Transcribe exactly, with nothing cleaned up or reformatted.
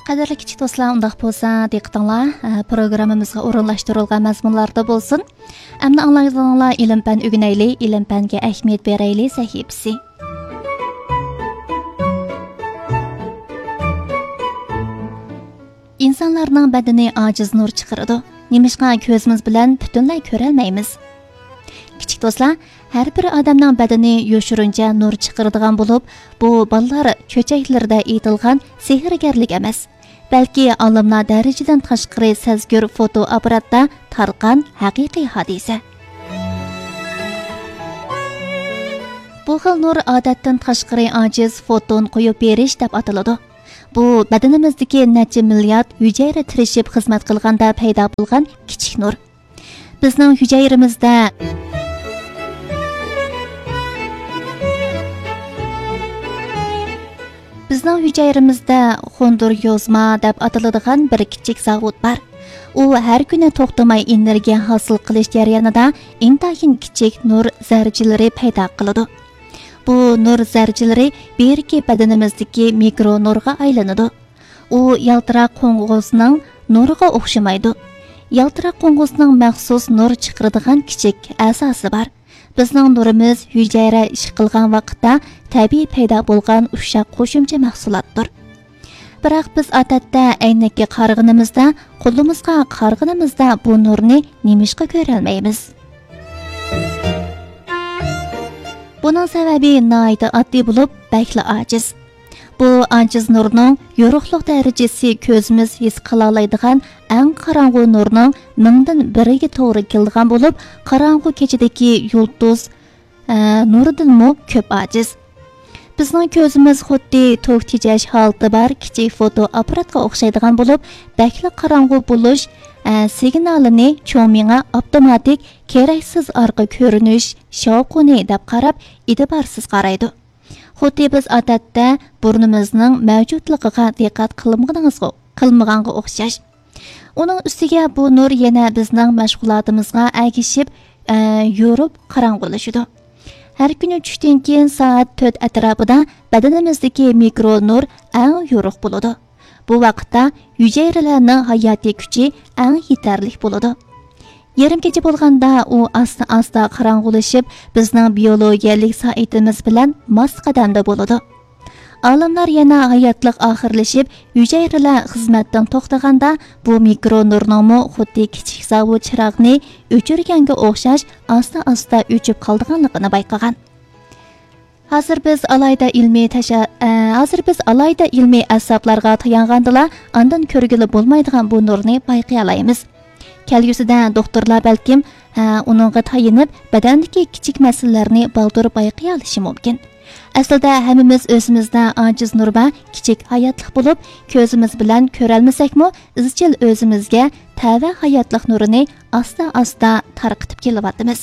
قەدىرلىك كىچىك دوستلار، ئۇنداق بولسا دىققىتىڭلار، ئە، پروگراممىمىزغا ئورۇنلاشتۇرۇلغان مەزمۇنلاردا بولسۇن. ئەمدى ئاڭلايدىغىنىڭلار «ئىلىم-پەن ئۆگىنەيلى، ئىلىم-پەنگە ئەھمىيەت بېرەيلى» سەھىپىسى. ئىنسانلارنىڭ بەدىنى ئاجىز نۇر چىقىرىدۇ. نېمىشقا كۆزىمىز بىلەن پۈتۈنلەي كۆرەلمەيمىز؟ كىچىك دوستلار، ھەر بىر ئادەمنىڭ بەدىنى يوشۇرۇنچە نۇر چىقىرىدىغان بولۇپ، بۇ بالىلار چۆچەكلىرىدە ئېيتىلغان سېھىرگەرلىك ئەمەس، بەلكى ئالىملار دەرىجىدىن تاشقىرى سەزگۈر فوتو ئاپپاراتتا تارقان ھەقىقىي ھادىسە. بۇ خىل نۇر ئادەتتىن تاشقىرى ئاجىز فوتون قويۇپ بېرىش دەپ ئاتىلىدۇ. بۇ بەدىنىمىزدىكى نەچچە مىليارد ھۈجەيرە تىرىشىپ خىزمەت قىلغاندا پەيدا بولغان كىچىك نۇر. بىزنىڭ ھۈجەيرىمىزدە، بىزنىڭ ھۈجەيرىمىزدە خوندۇر يوزما دەپ ئاتىلىدىغان بىر كىچىك زاۋۇت بار. ئۇ ھەر كۈنى توختىماي ئېنېرگىيە ھاسىل قىلىش جەريانىدا ئىنتايىن كىچىك نۇر زەررىچىلىرى پەيدا قىلىدۇ. بۇ نۇر زەررىچىلىرى بىرىكىپ بەدىنىمىزدىكى مىكرو نۇرغا ئايلىنىدۇ. ئۇ يالتىراق قوڭغۇزنىڭ نۇرىغا ئوخشىمايدۇ. يالتىراق قوڭغۇزنىڭ مەخسۇس نۇر چىقىرىدىغان كىچىك ئەزاسى بار. بىزنىڭ نۇرىمىز ھۈجەيرە ئىش قىلغان ۋاقىتتا تەبىئىي پەيدا بولغان ئۇششاق قوشۇمچە مەھسۇلاتتۇر. بىراق بىز ئادەتتە ئەينەككە قارىغىنىمىزدا، قولىمىزغا قارىغىنىمىزدا بۇ نۇرنى نېمىشقا كۆرەلمەيمىز؟ بۇنىڭ سەۋەبى ناھايىتى ئاددىي بولۇپ، بەكلا ئاجىز. بۇ ئاجىز نۇرنىڭ يورۇقلۇق دەرىجىسى كۆزىمىز ھېس قىلالايدىغان ئەڭ قاراڭغۇ نۇرنىڭ مىڭدىن بىرىگە توغرا كېلىدىغان بولۇپ، قاراڭغۇ كېچىدىكى يۇلتۇز، ئە، نۇرىدىنمۇ كۆپ ئاجىز. بىزنىڭ كۆزىمىز خۇددى توك تېجەش ھالىتى بار كىچىك فوتو ئاپپاراتقا ئوخشايدىغان بولۇپ، بەكلا قاراڭغۇ بولۇش، ئە، سىگنالىنى چوڭ مېڭە ئاپتوماتىك كېرەكسىز ئارقا كۆرۈنۈش شاۋقۇنى دەپ قاراپ، ئىتىبارسىز قارايدۇ. خۇددى بىز ئادەتتە بۇرنىمىزنىڭ مەۋجۇتلۇقىغا دىققەت قىلمىغىنىڭىزغا، قىلمىغانغا ئوخشاش. ئۇنىڭ ئۈستىگە بۇ نۇر يەنە بىزنىڭ مەشغۇلاتىمىزغا ئەگىشىپ، ئە، يورۇپ قاراڭغۇلىشىدۇ. ھەر كۈنى چۈشتىن كېيىن سائەت تۆت ئەتراپىدا بەدىنىمىزدىكى مىكرو نۇر ئەڭ يورۇق بولىدۇ. بۇ ۋاقىتتا ھۈجەيرىلەرنىڭ ھاياتىي كۈچى ئەڭ يېتەرلىك بولىدۇ. يېرىم كېچە بولغاندا ئۇ ئاستا-ئاستا قاراڭغۇلىشىپ، بىزنىڭ بىيولوگىيەلىك سائىتىمىز بىلەن ماس قەدەمدە بولىدۇ. ئالىملار يەنە ھاياتلىق ئاخىرلىشىپ، ھۈجەيرىلەر خىزمەتتىن توختىغاندا، بۇ مىكرو نۇرنىڭمۇ خۇددى كىچىك زاۋۇت چىراغنى ئۆچۈرگەنگە ئوخشاش ئاستا-ئاستا ئۆچۈپ قالىدىغانلىقىنى بايقىغان. ھازىر بىز ئالاھىدە ئىلمىي تەشە-، ئە، ھازىر بىز ئالاھىدە ئىلمىي ئەسۋابلارغا تايانغاندىلا، ئاندىن كۆرگىلى بولمايدىغان بۇ نۇرنى بايقىيالايمىز. كەلگۈسىدە دوختۇرلار بەلكىم، ئە، ئۇنىڭغا تايىنىپ، بەدەندىكى كىچىك مەسىلىلەرنى بالدۇر بايقىيالىشى مۇمكىن. ئەسلىدە ھەممىمىز ئۆزىمىزدە ئاجىز نۇر بار، كىچىك ھاياتلىق بولۇپ، كۆزىمىز بىلەن كۆرەلمىسەكمۇ، ئىزچىل ئۆزىمىزگە تەۋە ھاياتلىق نۇرىنى ئاستا-ئاستا تارقىتىپ كېلىۋاتىمىز.